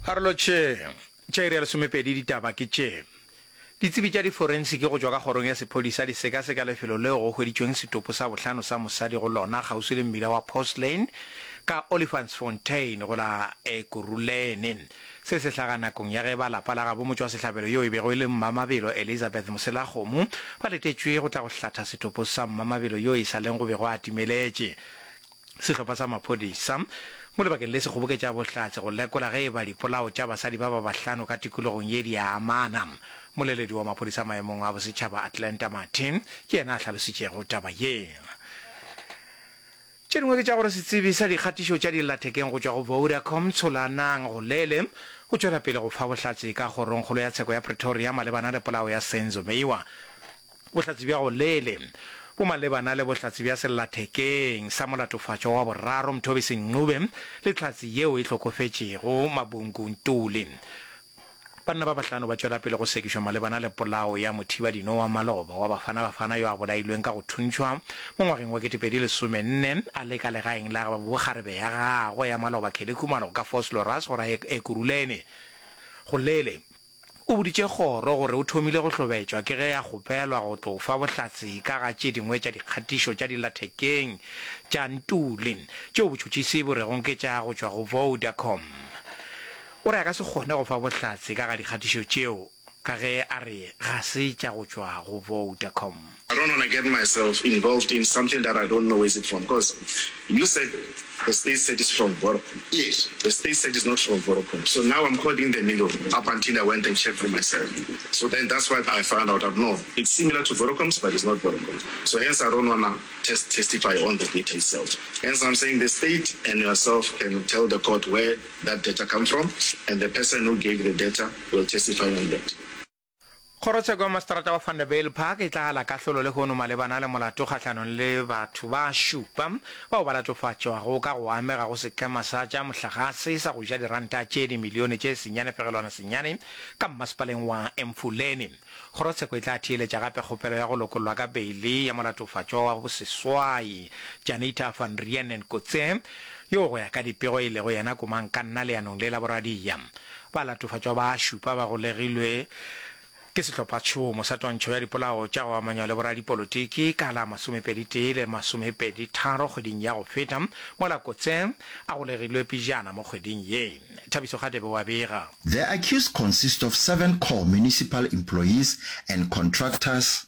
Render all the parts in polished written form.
Karolo tše tša iri ya lesomepedi ditaba ke tše. Ditsebi tša diforensiki go tšwa ka kgorong ya sephodisa di sekaseka lefelo leo go hweditšweng setopo sa bohlano sa mosadi go lona kgauswi le mmila wa Post Lane ka Olifantsfontein go la Ekurhuleni. Se se hlaga nakong ya ge ba lapa la gabo motšwasehlabelo yo e bego e le Mmamabelo Elizabeth Moselakgomo ba letetšwe go tla go hlatha setopo sa Mmamabelo yo e sa leng go bego a timeletše. Sehlopha sa maphodisa mo lebakeng le se kgoboketša bohlatse go lekola ge e ba dipolao tša basadi ba ba bahlano ka tikologong ye di a amana. Moleledi wa maphodisa maemong a bosetšhaba Atlanta Martin ke yena a hlalositšego taba ye. Tše dingwe ke tša gore setsebi sa dikgatišo tša dillathekeng go tšwa go Vodacom Tsholanang Golele o tšwela pele go fa bohlatse ka kgorongkgolo ya tsheko ya Pretoria malebana le polao ya Senzo Meyiwa. Bohlatse bja Golele bo malebana le bohlatse bja sellathekeng sa molatofatšwa wa boraro Mthobisi Ncube le hlatse yeo e hlokofetšego Mabungu Ntuli. Banna ba bahlano ba tšwela pele go sekišwa malebana le polao ya mothibadino wa maloba wa Bafana Bafana yo a bolailweng ka go thuntšhwa mo ngwageng wa 2014 a le ka legaeng la bokgarebe ya gagwe ya maloba Kelly Khumalo ka Vosloorus go ra Ekurhuleni. Golele O boditše kgoro gore o thomile go hlobetšwa ke ge a kgopelwa go tlo fa bohlatse ka ga tše dingwe tša dikgatišo tša dillathekeng tša Ntuli tšeo botšhotšhisi bo rego ke tša go tšwa go Vodacom. O re a ka se kgone go fa bohlatse ka ga dikgatišo tšeo ka ge a re ga se tša go tšwa go Vodacom. I don't wanna get myself involved in something that I don't know where's it from cause you said the state said it's from Vodacom. Yes. The state said it's not from Vodacom. So now I'm caught in the middle up until I went and checked for myself. So then that's what I found out that no, it's similar to Vodacom's but it's not Vodacom. So hence I don't wanna test testify on the data itself. Hence I'm saying the state and yourself can tell the court where that data come from and the person who gave the data will testify on that. Kgorotsheko ya Maseterata wa Vanderbijlpark e tla ala kahlolo lehono malebana le molato kgahlanong le batho ba šupa bao ba latofatšwago ka go amega go setlema sa tša mohlagase sa go ja diranta tše dimilione tše senyane fegelwana senyane ka mmasepaleng wa Emfuleni. Kgorotsheko e tla theeletša gape kgopelo ya go lokollwa ka beili ya molatofatšwa wa boseswai Janita van Reenen Kotze yo go ya ka dipego e lego yena komangkanna leanong le la boradia. Balatofatšwa ba šupa ba golegilwe ke sehlophatšhomo sa twantšho ya dipolao tša go amanywa le boradipolotiki ka la masomepeditee le masomepeditharo kgweding ya go feta, mola Kotse a golegilwe pejana mo kgweding ye. Thabiso Kgatebe o a bega. The accused consist of seven core municipal employees and contractors.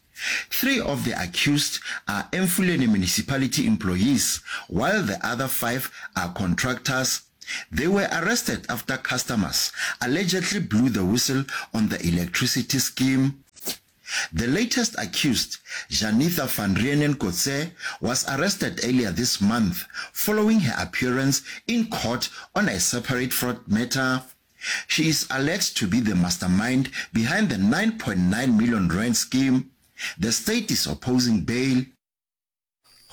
Three of the accused are Emfuleni municipality employees while the other five are contractors. They were arrested after customers allegedly blew the whistle on the electricity scheme. The latest accused, Janitha van Reenen Kotze, was arrested earlier this month following her appearance in court on a separate fraud matter. She is alleged to be the mastermind behind the 9.9 million rand scheme. The state is opposing bail.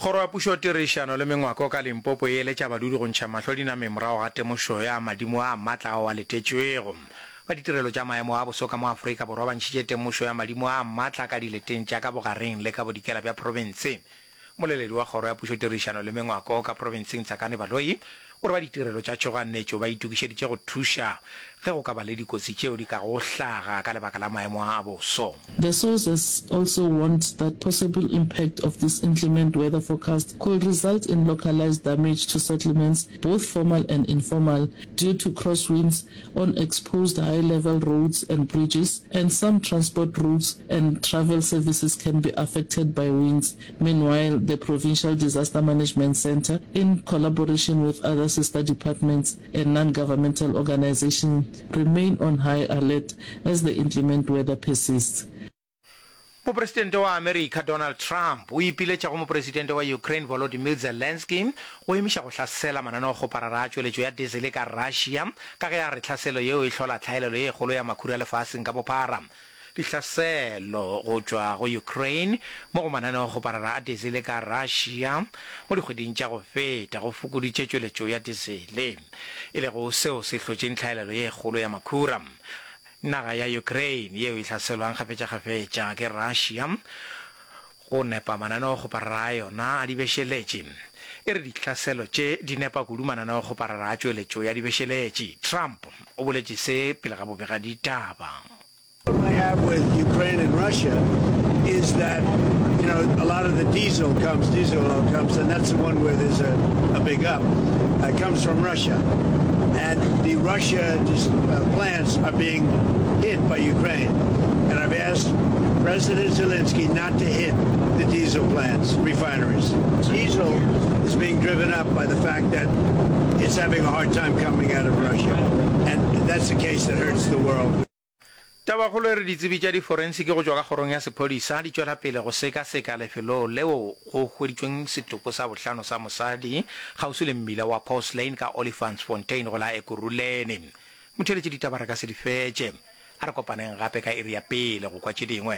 Kgoro ya Pušo, Tirišano le Mengwako ka Limpopo e eletša badudi go ntšha mahlo dinameng morago ga temošo ya madimo a matla ao a letetšwego. Ba ditirelo tša maemo a boso ka mo Afrika Borwa ba ntšhitše temošo ya madimo a matla ka dileteng tša ka bogareng le ka bodikela bja profense. Moleledi wa Kgoro ya Pušo, Tirišano le Mengwako ka profenseng Tsakani Baloyi o re ba ditirelo tša tšhoganetšo ba itokišeditše go thuša ge go ka ba le dikotsi tšeo di kago hlaga ka lebaka la maemo a a boso. The sources also warned that possible impact of this inclement weather forecast could result in localized damage to settlements, both formal and informal, due to crosswinds on exposed high-level roads and bridges, and some transport routes and travel services can be affected by winds. Meanwhile, the Provincial Disaster Management Centre, in collaboration with other sister departments and non-governmental organisations, remain on high alert as the inclement weather persists. Mopresidente wa Amerika Donald Trump o ipiletša go Mopresidente wa Ukraine Volodymyr Zelensky go emiša go hlasela mananeokgoparara a tšweletšo ya diesele ka Russia ka ge a re tlhaselo yeo e hlola tlhaelelo ye kgolo ya makhura lefaseng ka bophara. Dihlaselo go tšwa go Ukraine mo go mananeokgoparara a diesele ka Russia mo dikgweding tša go feta go fokoditše tšweletšo ya diesele, e lego seo se hlotšeng tlhaelelo ye kgolo ya makhura. Naga ya Ukraine yeo e hlaselwang kgafetšakgafetša ke Russia go nepa mananeokgoparara a yona a dibešeletši, e re dihlaselo tše di nepa kudu mananeokgoparara a tšweletšo ya dibešeletši. Trump o. o boletše se pele ga bobegaditaba. Problem I have with Ukraine and Russia is that you know a lot of the diesel comes diesel oil comes and that's the one where there's a, a big up. It comes from Russia. And the Russia just, uh, plants are being hit by Ukraine. And I've asked President Zelensky not to hit the diesel plants, refineries. Diesel is being driven up by the fact that it's having a hard time coming out of Russia. And that's the case that hurts the world. Tabakgolo e re ditsebi tša diforensiki go tšwa ka kgorong ya sephodisa di tšwela pele go sekaseka lefelo leo go hweditšweng setopo sa bohlano sa mosadi kgauswi le mmila wa Post Lane ka Olifantsfontein go la Ekurhuleni. Motheeletši ditaba re ka se di fetše. A re kopaneng gape ka iri ya pele go kwa tše dingwe.